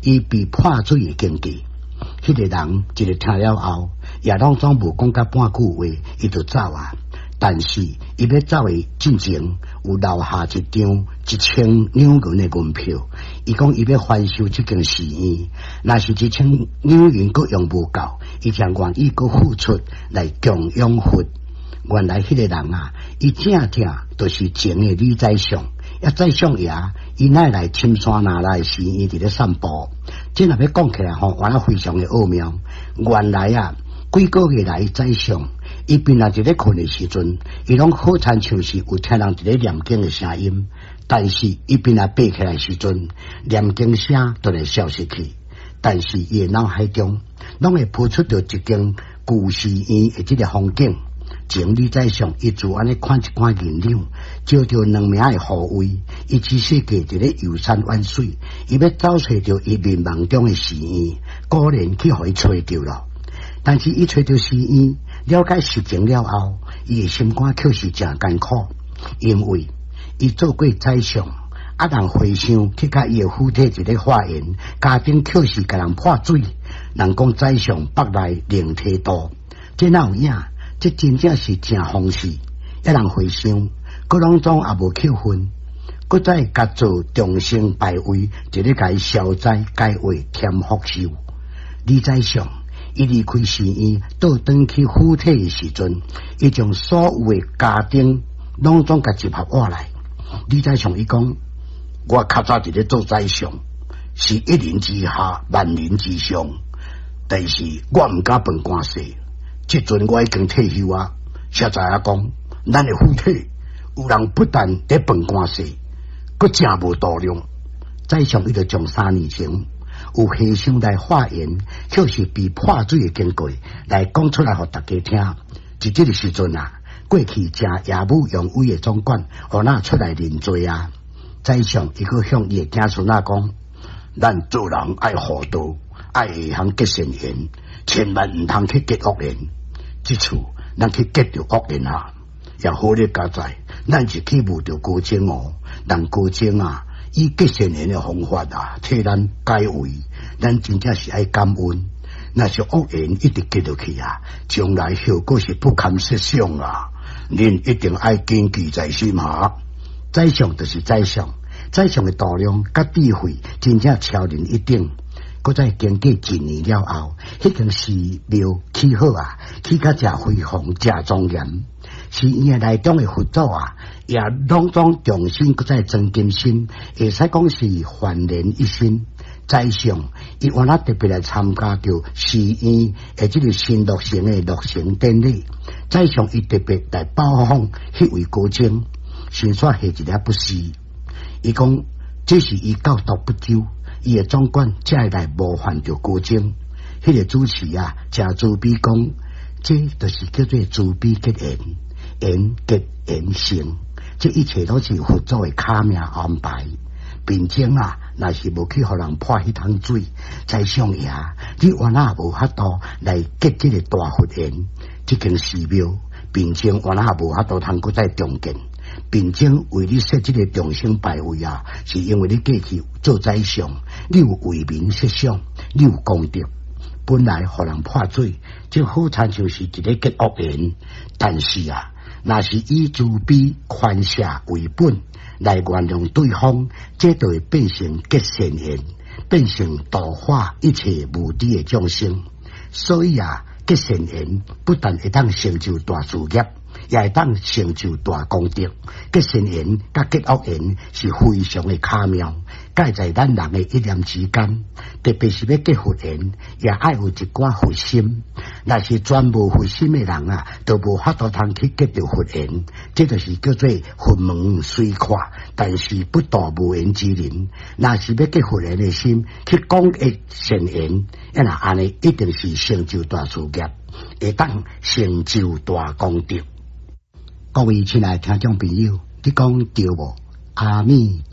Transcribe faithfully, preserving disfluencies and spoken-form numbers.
伊被潑水的經過。彼個人一个聽了後，也攏總無講甲半句話，伊就走啊。但是伊欲走的進前，有留下一張一千兩銀的銀票。伊講伊欲翻修這間寺院，若是一千兩銀閣用無夠，伊才願意閣付出來供養佛。原來彼個人啊，伊正正就是前的李宰相。啊，宰相爺，伊乃來深山那來寺院佇咧散步。這若欲講起來吼，原來非常的奧妙。原來啊，幾個月來宰相，伊平常佇咧睏的時陣，伊攏好親像是有聽人佇咧念經的聲音。但是伊平常爬起來時陣，念經聲就會消失去。但是伊的腦海中，攏會浮出著一間舊寺院的這个風景。前李宰相伊自按呢看一寡銀兩，招著兩名的護衛，伊只世界佇咧遊山玩水，伊欲走揣著伊眠夢中的寺院，果然去予伊揣著囉。但是伊揣著寺院，了解實情了後，伊的心肝卻是誠艱苦，因為伊做過宰相，啊人和尚去共伊的府邸一个化緣，家丁卻是共人潑水，人講宰相腹內靈體多，這哪有影？這真正是誠諷刺，一人和尚，閣攏總也無扣分，閣再共做眾生牌位，一咧共伊消災解厄添福壽。李宰相伊離開寺院，倒轉去府邸的時陣，伊將所有的家丁攏總共集合過來。李宰相伊講：我較早佇咧做宰相，是一人之下，萬人之上，但是我毋敢分官勢。這陣我已經退休啊，實在仔講，咱的府邸有人不但佇分官勢，閣誠無度量。宰相伊就將三年前有和尚來化緣，卻是被潑水的經過來講出來，予大家聽。佇這个時陣啊，過去誠英武揚威的總管，予哪出來認罪啊？宰相伊閣向伊的子孫仔講：咱做人愛厚道，愛會曉結善緣，千萬毋通去結惡緣。這次咱去結著惡緣啊，也好咧佳哉，咱是去遇著高僧哦，人高僧啊，以結善緣的方法啊，替咱解圍，咱真正是愛感恩。若是惡緣一直結落去啊，將來後果是不堪設想啊！恁一定愛謹記在心哈。宰相就是宰相，宰相的度量佮智慧真正超人一等。閣再經過一年了後，彼間寺廟起好啊，起甲誠輝煌、誠莊嚴。寺院內中的佛祖啊，也攏總重新閣再裝金身，會使講是煥然一新。宰相伊原來特別來參加著寺院的這个新落成的落成典禮。宰相伊特別來拜訪彼位高僧，先煞下一个不是。伊講這是伊教導不周。伊的總管才會來冒犯著高僧，彼个主持啊，誠慈悲講，這就是叫做慈悲結緣，緣結緣成，這一切攏是佛祖的巧妙安排。平靜啊，若是無去予人潑彼桶水，宰相爺，你原來無法度來結這个大佛緣，這間寺廟，平靜原來無法度通閣再重建。平靜為你設這个眾生牌位啊，是因為你過去做宰相，你有為民設想，你有功德。本來予人潑水，這好親像是一个結惡緣，但是啊，若是以慈悲寬赦為本來原諒對方，這就會變成結善緣，變成度化一切無知的眾生。所以啊，結善緣不但會當成就大事業，也會當成就大功德。結善緣佮結惡緣是非常的巧妙，介在咱人的一念之間。特別是欲結佛緣，也愛有一寡佛心。若是全無佛心的人啊，就無法度通去結著佛緣。這就是叫做佛門雖闊，但是不度無緣之人。若是欲結佛緣的心去廣結善緣，若按呢一定是成就大事業，會當成就大功德。各位親愛聽眾朋友，你講對無？阿彌。